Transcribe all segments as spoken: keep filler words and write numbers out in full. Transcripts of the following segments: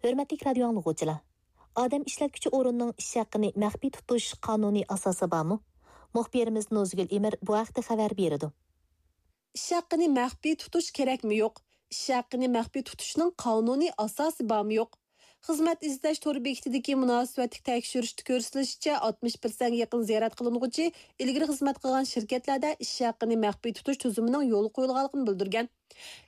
ھۆرمەتلىك رادىيو ئاڭلىغۇچىلار! ئادەم ئىشلەتكۈچى ئورۇننىڭ ئىش ھەققىنى مەخپىي تۇتۇش قانۇنىي ئاساسى بارمۇ؟ مۇخبىرىمىز نوزۇگۈل ئىمىر بۇ ھەقتە خەۋەر بېرىدۇ. ئىش ھەققىنى مەخپىي تۇتۇش كېرەكمۇ يوق؟ ئىش ھەققىنى مەخپىي تۇتۇشنىڭ قانۇنىي ئاساسى بارمۇ يوق؟ خىزمەت ئىزدەش تور بېكىتىدىكى مۇناسىۋەتلىك تەكشۈرۈشتە كۆرسىتىلىشىچە، ئاتمىش پىرسەنتكە يېقىن زىيارەت قىلىنغۇچى ئىلگىرى خىزمەت قىلغان شىركەتلەردە ئىش ھەققىنى مەخپىي تۇتۇش تۈزۈمىنىڭ يولغا قويۇلغانلىقىنى بىلدۈرگەن.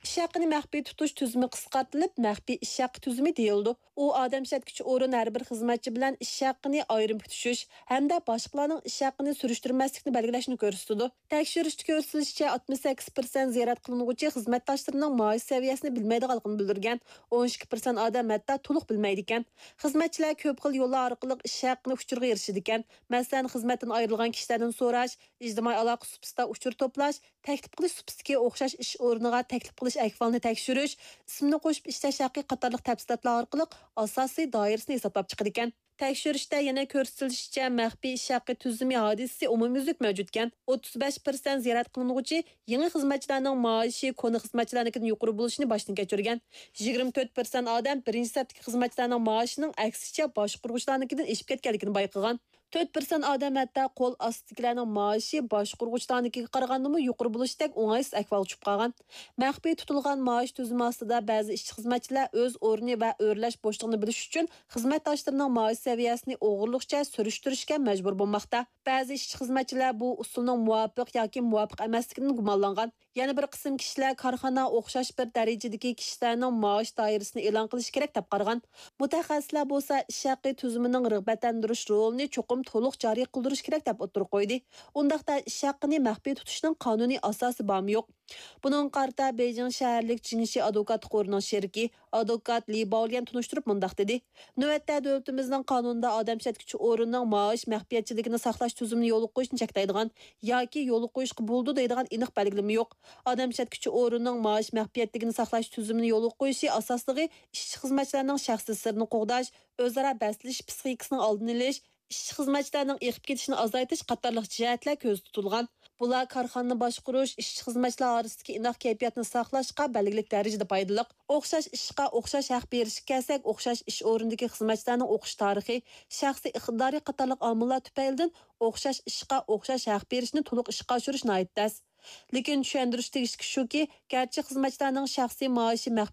ئىش ھەققىنى مەخپىي تۇتۇش تۈزۈمى قىسقارتىلىپ، مەخپىي ئىش ھەققى تۈزۈمى دېيىلىدۇ. ئۇ ئادەم ئىشلەتكۈچى ئورۇن ھەر بىر خىزمەتچى بىلەن ئىش ھەققىنى ئايرىم پۈتۈشۈش ھەمدە باشقىلارنىڭ ئىش ھەققىنى سۈرۈشتۈرمەسلىكنى بەلگىلەشنى كۆرسىتىدۇ. تەكشۈرۈشتە كۆرسىتىلىشىچە، ئاتمىش سەككىز پىرسەنت زىيارەت قىلىنغۇچى خىزمەتداشلىرىنىڭ مائاش سەۋىيەسىنى بىلمەيدىغانلىقىنى بىلدۈرگەن. ئون ئىككى پىرسەنت ئادەم ھەتتا تولۇق بىلمەيدىكەن. خىزمەتچىلەر كۆپ خىل يوللار ئارقىلىق ئىش ھەققىنى ئۇچۇرغا ئېرىشىدىكەن. مەسىلەن، خىزمەتتىن ئايرىلغان كىشىلەردىن سوراش، ئىجتىمائىي ئالاقە سۇپىسىدا ئۇچۇر توپلاش، تەكلىپ قىلىش سۇپىسىدىكى ئوخشاش ئىش ئورنىغا تەكلىپ قىلىش ئەھۋالىنى تەكشۈرۈش، ئىسىمنى قوشۇپ ئىشلەش ھەققى قاتارلىق تەپسىلاتلار ئارقىلىق ئاساسىي دائىرىسىنى ھېسابلاپ چىقىدىكەن. تەكشۈرۈشتە يەنە كۆرسىتىلىشىچە، مەخپىي ئىش ھەققى تۈزۈمى ھادىسىسى ئومۇميۈزلۈك مەۋجۇتكەن. ئوتتۇز بەش پىرسەنت زىيارەت قىلىنغۇچى يېڭى خىزمەتچىلەرنىڭ مائاشى كونا خىزمەتچىلەرنىڭكىدىن يۇقىرى بولۇشىنى باشتىن كەچۈرگەن. يىگىرمە تۆت پىرسەنت ئادەم بىرىنچى سەپتىكى خىزمەتچىلەرنىڭ مائاشىنىڭ ئەكسىچە باشقۇرغۇچىلارنىڭكىدىن ئېشىپ كەتكەنلىكىنى بايقىغان. تۆت پىرسەنت ئادەم ھەتتا قول ئاستىدىكىلەرنىڭ مائاشى باشقۇرغۇچىلارنىڭكىگە قارىغاندىمۇ يۇقىرى بولۇشتەك ئوڭايسىز ئەھۋالغا چۈشۈپ قالغان. مەخپىي تۇتۇلغان مائاش تۈزۈمى ئاستىدا بەزى ئىشچى خىزمەتچىلەر ئۆز ئورنى ۋە ئۆرلەش بوشلۇقىنى بىلىش ئۈچۈن خىزمەتداشلىرىنىڭ مائاش سەۋىيەسىنى ئوغرىلىقچە سۈرۈشتۈرۈشكە مەجبۇر بولماقتا. بەزى ئىشچى خىزمەتچىلەر بۇ ئۇسۇلنىڭ مۇۋاپىق ياكى مۇۋاپىق ئەمەسلىكىدىن گۇمانلانغان. يەنە بىر قىسىم كىشىلەر كارخانا ئوخشاش بىر دەرىجىدىكى كىشىلەرنىڭ مائاش دائىرىسىنى ئېلان قىلىشى كېرەك دەپ قارىغان. مۇتەخەسسىسلەر بولسا ئىش ھەققى تۈزۈمىنىڭ رىغبەتلەندۈرۈش رولىنى چوقۇم تولۇق جارى قىلدۇرۇش كېرەك دەپ ئوتتۇرىغا قويدى. ئۇنداقتا ئىش ھەققىنى مەخپىي تۇتۇشنىڭ قانۇنىي ئاساسى بارمۇ يوق؟ بۇنىڭغا قارىتا بېيجىڭ شەھەرلىك جىڭشى ئادۋوكاتلىق قورىنىڭ شېرىكى، ئادۋوكات لى باۋليەن تونۇشتۇرۇپ مۇنداق دېدى: نۆۋەتتە دۆلىتىمىزنىڭ قانۇنىدا ئادەم ئىشلەتكۈچى ئورۇننىڭ مائاش مەخپىيەتچىلىكىنى ساقلاش تۈزۈمىنى يولغا قويۇشنى چەكلەيدىغان ياكى يولغا قويۇشقا بولىدۇ دەيدىغان ئېنىق بەلگىلىمە يوق. ئادەم ئىشلەتكۈچى ئورۇننىڭ مائاش مەخپىيەتلىكىنى ساقلاش تۈزۈمىنى يولغا قويۇشى ئاساسلىقى ئىشچى خىزمەتچىلەرنىڭ شەخسىي سىرىنى قوغداش، ئۆزئارا بەسلىشىش پىسخىكىسىنىڭ ئالدىنى ئېلىش، ئىشچى خىزمەتچىلەرنىڭ ئېغىپ كېتىشىنى ئازايتىش قاتارلىق جەھەتلەر كۆزدە تۇتۇلغان. بۇلار كارخانىنى باشقۇرۇش، ئىشچى خىزمەتچىلەر ئارىسىدىكى ئىناق كەيپىياتنى ساقلاشقا بەلگىلىك دەرىجىدە پايدىلىق. ئوخشاش ئىشقا ئوخشاش ھەق بېرىشكە كەلسەك، ئوخشاش ئىش ئورنىدىكى خىزمەتچىلەرنىڭ ئوقۇش تارىخى، شەخسىي ئىقتىدارى قاتارلىق ئامىللار تۈپەيلىدىن ئوخشاش ئىشقا ئوخشاش ھەق بېرىشنى تولۇق ئىشقا ئاشۇرۇش ناھايىتى تەس. لېكىن چۈشەندۈرۈش تېگىشلىكى شۇكى، گەرچە خىزمەتچىلەرنىڭ شەخسىي مائاشى مەخپىي